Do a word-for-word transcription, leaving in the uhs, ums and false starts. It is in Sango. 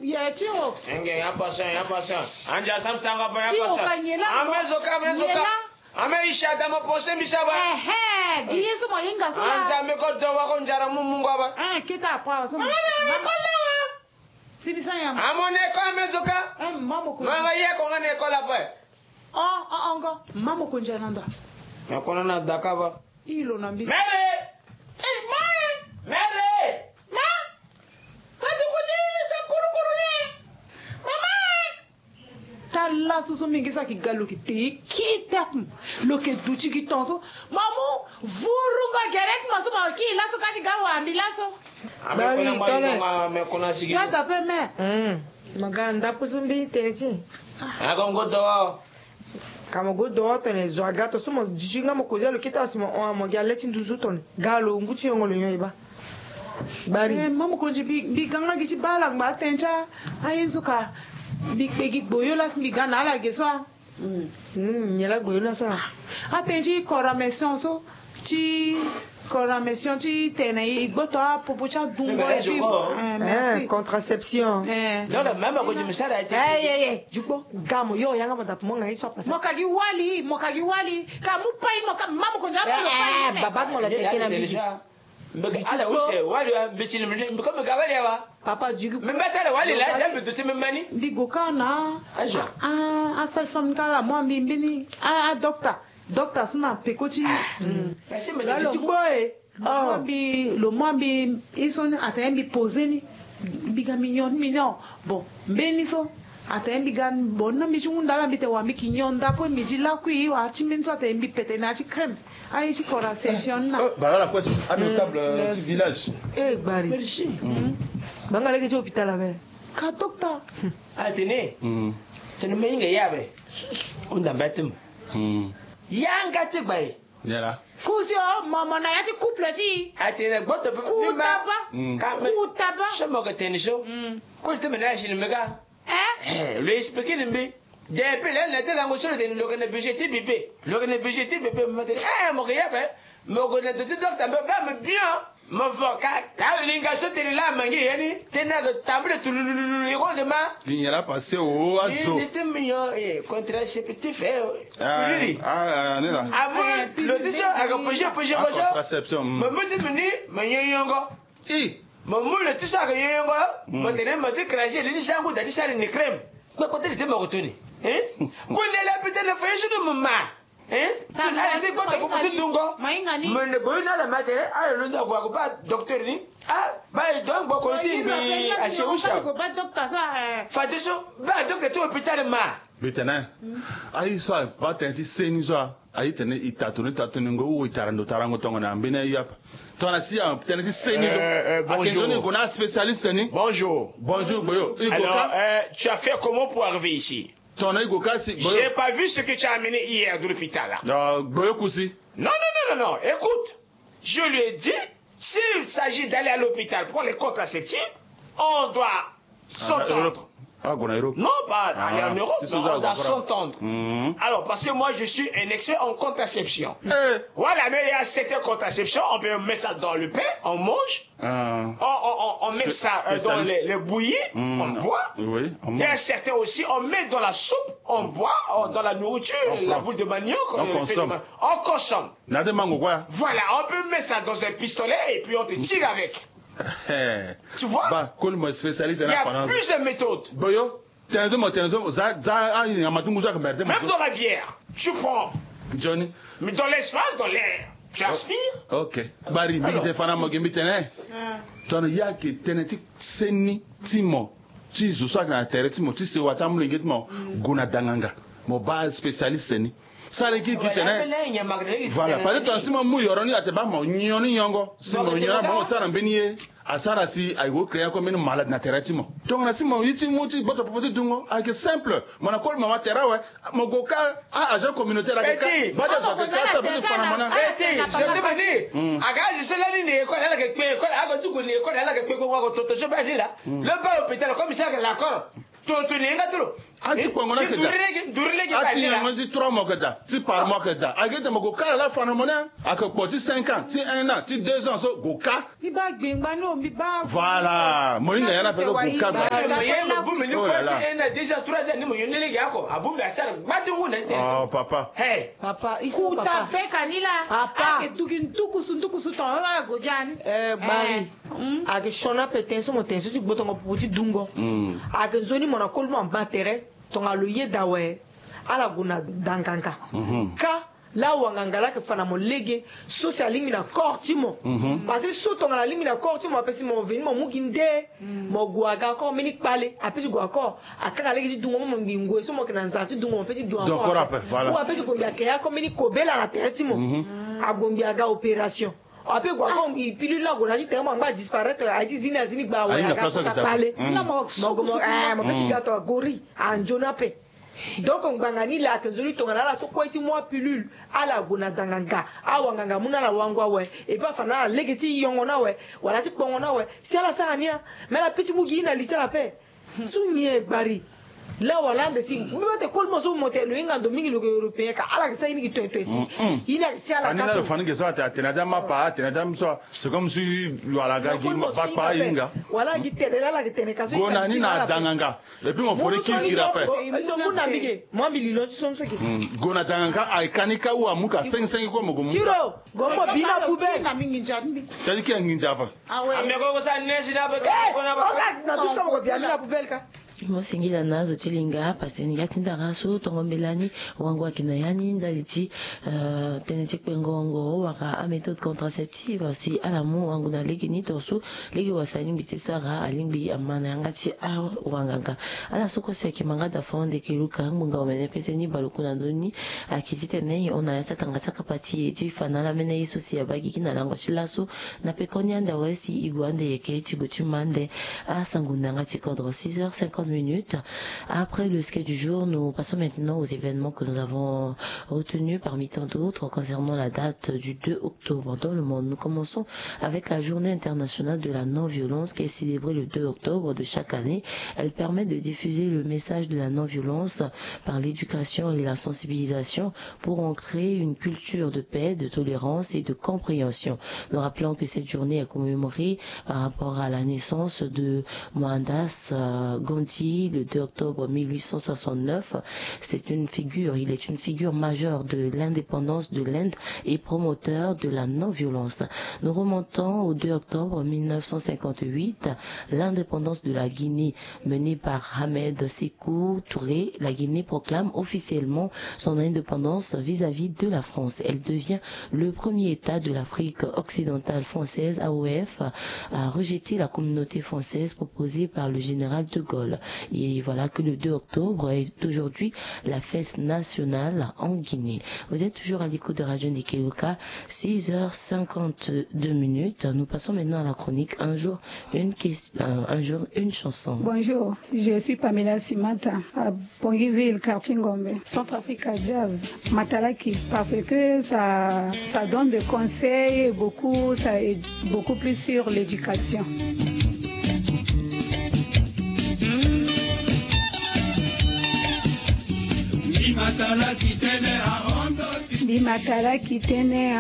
Ye ti o. Enge, ya patient, ya patient. Anja sam sanga pa ya patient. Ti o ka nyela. Ame zo ka, ame zo ka. Ame isha da mo pose mi saba. Ehe, gi ye so mo hinga so la. Anja me ko do wa ko njara mu mungo ba. Eh, kita pa so. Mama, mama, ko do wa. Ti mi sa ya. Amo ne ko ame zo ka. Eh, mama ko. Manga ye ko nga ne ko la pa. O, o, o, ngo. Mama ko njara na nda. Ya ko na na da ka ba. I lo na mbisi. Mary! Eh, ma! Mary! Ma! Kati kuti sa kurukuru ni. Mama! Tala susu mingi sa ki ga lo ki te ki tek. Lo ke duti ki ton so. Mamu, vurunga gerek ma so ma ki la so kati ga wa mbi la so. Bari tole. Kata pe me. Hmm. Ma ga nda pusu mbi tene ti. Ako ngo do. Ka mo gue do tene zo aga to so mo duti nga mo kozi alo kita si mo hon mo gi ale ti nduzu tone. Ga lo ngu ti yongo lo nyon e ba. Bari. Eh, ma mokonzi mbi, mbi ga nga gi ti baa ala ngba atene ti a, aye so ka mbi kpe gi gboyo laa si mbi ga na ala ge so a. Hmm, nyen laa gboyo laa so a? Atene ti coordination so. Ti coordination ti tene e gboto apopo ti adungo. Eh, merci. Contraception. Eh. Non, non, même quand je me sers la tête. Eh, eh, eh, jukpo. Ga mo yo yanga mo dapo mo nga ye so a pasa. Mo ka gi wali, mo ka gi wali. Ka mu pa ye mo ka ma mokonzi apo. Eh, baba mo la tete na mbi. Mbeke ala use wali wa mbeti ni mbi ko mbeke wali wa. Papa du coup. Mbembe tala wali la jambe duti mbembe ni. Mbi go ka na. Aja. Ah, ah, sage-femme ka la mo mbi mbeni. Ah, ah, docteur. Docteur so na peko ti. Merci, mais lalo gbo e. Lo mo mbi, lo mo mbi, i so ni atene mbi poser ni. Mbi ga mbi nyon, mbi nyon. Bon, mbeni so. Atene mbi ga, bon, na mbi ti hunda la mbi te wa mbi ki nyon nda po mbi ti lakui wa ti mbeni so atene mbi pete na ya ti crème. Aye ti contraception na. Oh, bala la kue si, a notable, euh, ti village. Eh, Gbari. Merci. Banga lege ti hôpital abe. Ka docteur. Atene. Tene me inga ya be. Unda mbetem. Yanga ti Gbari. Yala. Kusi o, mo, mo na ya ti couple ti. Atene gboto pe. Kutaba. Kutaba. So mo ke tene so. Ko ti me na ya si ni me ka. Eh? Eh, lo expliquer ni mbi. Depuis le, le, le, lango so lo tene lo ke na budget ti bébé. Lo ke na budget ti bébé, mo tene, eh, mo ke ya be. Mo ke na do ti docteur, mbe, be, me bien. Mo vo ka, ka linga so tene la mangi ye ni. Tene na tambule tulululu, ye ko de ma. Linga la passé o azo. Ni te mi yo, eh, contraceptif, eh. Ah, ah, ni la. Ah, mo, lo ti so, a ke poche, poche, poche. Contraception. Mo, mo ti mi ni, mo nyongo. I. Mo mu le ti so ayeke yongo, mo tene mo ti cracher li ni sangu da ti sara ni crème. Kpekpe ti li ti mo ko toni. Hein? Kue nde la pete na fa ye so ni mo ma. Hein? Tun ala ti gboto popo ti dungo. Mo ne boyi na ala ma tene, ala londo ague ague baa docteur ni. Ah, baa e donc boko ti mbi asie usa. Fade so, baa docteur ti hôpital ma. Mbi tene. Aye so abaa tënë ti seni so a. Aye tene e tatoni tatoningo ou e tara ndo tarango tongana mbeni aye ape. Tongana si atene ti seni so. Ake nzoni e gue na aspécialiste ni. Bonjour. Bonjour, Gboyo. E gue ka. Alors, euh, tu as fait comment pour arriver ici? Tongana e gue ka si, Gboyo. J'ai pas vu ce que tu as amené hier de l'hôpital là. Ah, Gboyo Kusi. Non, non, non, non, non. Écoute, je lui ai dit, s'il s'agit d'aller à l'hôpital pour les contraceptifs, on doit s'entendre. Ah, en Europe. Ah, en Europe. Non, pas aller en Europe, mais on doit s'entendre. Alors, parce que moi, je suis un expert en contraception. Voilà, mais il y a certaines contraceptions, on peut mettre ça dans le pain, on mange. On, on, on, on met ça, euh, dans les, les bouillies, on boit. Oui, on mange. Il y a certains aussi, on met dans la soupe, on boit, euh, dans la nourriture, la boule de manioc, euh, le fait de ma-, on consomme. Na de mango quoi. Voilà, on peut mettre ça dans un pistolet et puis on te tire avec. Tu vois? Ba, koli mo spécialiste na. Il y a plus de méthodes. Gboyo, tene so mo, tene so mo, za, za, ah, ya ma tungu so ake merde mo. Même dans la bière, tu prends. Johnny. Mais dans l'espace, dans l'air, tu aspires. Ok. Bari, mbi te fa na mo ge mbi tene. Tongana ya ke tene ti seni ti mo. Ti zo so ake na tere ti mo, ti sewa ti amolenge ti mo. Gue na danganga. Mo baa spécialiste ni. Sara gi gi tene. Voilà, parce que tongana si mo mu yoro ni ate baa mo nyon ni nyongo. Si mo nyon na mo sara mbeni ye. Asara si aye ko créer ako mbeni malade na tere ti mo. Tongana si mo ye ti mu ti gboto popo ti dungo. Ayeke simple. Mo na koli mama tere awe. Mo gue ka a agent communautaire ayeke ka. Baa ti azo ayeke ka sa baa ti fa na mo na. Petit, je te dis. Aga azo so lani na école ala yeke kpe école aga ti gue na école ala yeke kpe kpe ngo ako toto so baa ni la. Lo baa hôpital comme ça ayeke lakoro. Toto ni ye nga ti lo. Ati kpongo na keda. Ati nyango ti trois mois keda, ti par mois keda. Ake te mo ko kala la fana mo ne. Ake kpo ti cinq ans, ti un an, ti deux ans so go ka. Mi ba gbengba ni o, mi ba. Voilà, mo hinga ya na pe ko go ka. Déjà trois ans ni mo yonde lege ako. Abumbi asara gbati ngu na ite. Oh papa. Hey. Papa, il faut papa. Beka ni la. Papa. Ake duki ndukusu ndukusu ton ala go jani. Eh, bari. Ake sioni ape ten so mo ten so ti gbotongo pupu ti dungo. Ake nzoni mo na koli mo amba tere. Tongana lo yeda awe, ala gue na danganga. Ka la wanganga la yeke fa na mo lege so si alingbi na corps ti mo. Parce que so tongana alingbi na corps ti mo, ape si mo veni mo mu gi nde. Mo gue aga corps mbeni kpale, ape si gue aga corps, akanga lege ti dungo mo, mo ngbi ngoi so mo yeke na nzara ti dungo mo, ape si dungo corps ape. Ou ape si gue ngbi ake ya corps mbeni kobela na tere ti mo. Ague ngbi aga opération. Ape gue aga ngbi pilule la gue na ti tere mo angba disparaître, aye ti zi ni azi ni gba awe aga kota kpale. Mo gue mo, eh, mo pe ti ga to agori anzoni ape. Donc ngbanga ni la ake nzoni tongana ala so kue ti mu apilule, ala gue na danganga, awanganga mu na ala wango awe. Et puis afa na ala lege ti yongo na awe, wala ti kpongo na awe. Si ala sara ni a, mais ala pe ti mu gi ye na li ti ala ape. Su nyen gbari? La wala ande si mbi ba te koli mo so mo te lo hinga ndo mingi lo yeke européen ka, ala yeke sara ye ni gi toetoe si. Ye ni ayeke ti ala ka so. Ani na lo fa ni ge so ate atene ade amapa, atene ade amso. C'est comme si lo ala ga gi bakpa ahinga. Wala gi tene la ala yeke tene ka so. Gue na ni na danganga. Et puis mo fo ni kirikiri ape. Mo mbi lilo ti so ni so ke. Gue na danganga, aye ka ni ka ou amu ka sengi sengi kue mo gue mu. Tiro, gue mo bi na poubelle. Tadi ki anginza ape. Ah ouais. Ame ko ko sa nesi na be. Eh, ko na ba. Oka na dusu ka mo ko bi ami na poubelle ka. Mo singila na zo ti linga, parce que ni ya ti ndara so tongo mbela ni wango ayeke na ya ni ndali ti, euh, tënë ti kpengo wara améthode contraceptive si ala mu wango na lege ni tongaso lege wasa alingbi ti sara, alingbi ama na yanga ti awanganga. Ala so kue si ayeke manga da fo ande yeke luka ngbonga omene pese ni baleku na ndö ni. Ayeke titene e hon na ya ti atanga ti akapa ti e ti fa na ala mene ye so si abaa gigi na lango ti laso. Na pekoni ande awe si e gue ande yeke ti gue ti ma ande asango na yanga ti kodro. Six heures cinquante minutes. Après le sketch du jour, nous passons maintenant aux événements que nous avons retenus parmi tant d'autres concernant la date du deux octobre dans le monde. Nous commençons avec la journée internationale de la non-violence qui est célébrée le deux octobre de chaque année. Elle permet de diffuser le message de la non-violence par l'éducation et la sensibilisation pour ancrer une culture de paix, de tolérance et de compréhension. Nous rappelons que cette journée est commémorée par rapport à la naissance de Mohandas, euh, Gandhi le deux octobre mille huit cent soixante-neuf. C'est une figure, il est une figure majeure de l'indépendance de l'Inde et promoteur de la non-violence. Nous remontons au deux octobre mille neuf cent cinquante-huit, l'indépendance de la Guinée menée par Ahmed Sékou Touré. La Guinée proclame officiellement son indépendance vis-à-vis de la France. Elle devient le premier État de l'Afrique occidentale française, A O F, à rejeter la communauté française proposée par le général de Gaulle. Et voilà que le deux octobre est aujourd'hui la fête nationale en Guinée. Vous êtes toujours à l'écoute de Radio Ndeke Yoka, six heures cinquante-deux minutes. Nous passons maintenant à la chronique Un jour, une question, euh, un jour, une chanson. Bonjour, je suis Pamela Simanta. Bongiville, quartier Ngombe, Centrafrica Jazz, Matalaki, parce que ça, ça donne des conseils et beaucoup, ça aide beaucoup plus sur l'éducation. Mbi matalaki tene ahondo. Mbi matalaki tene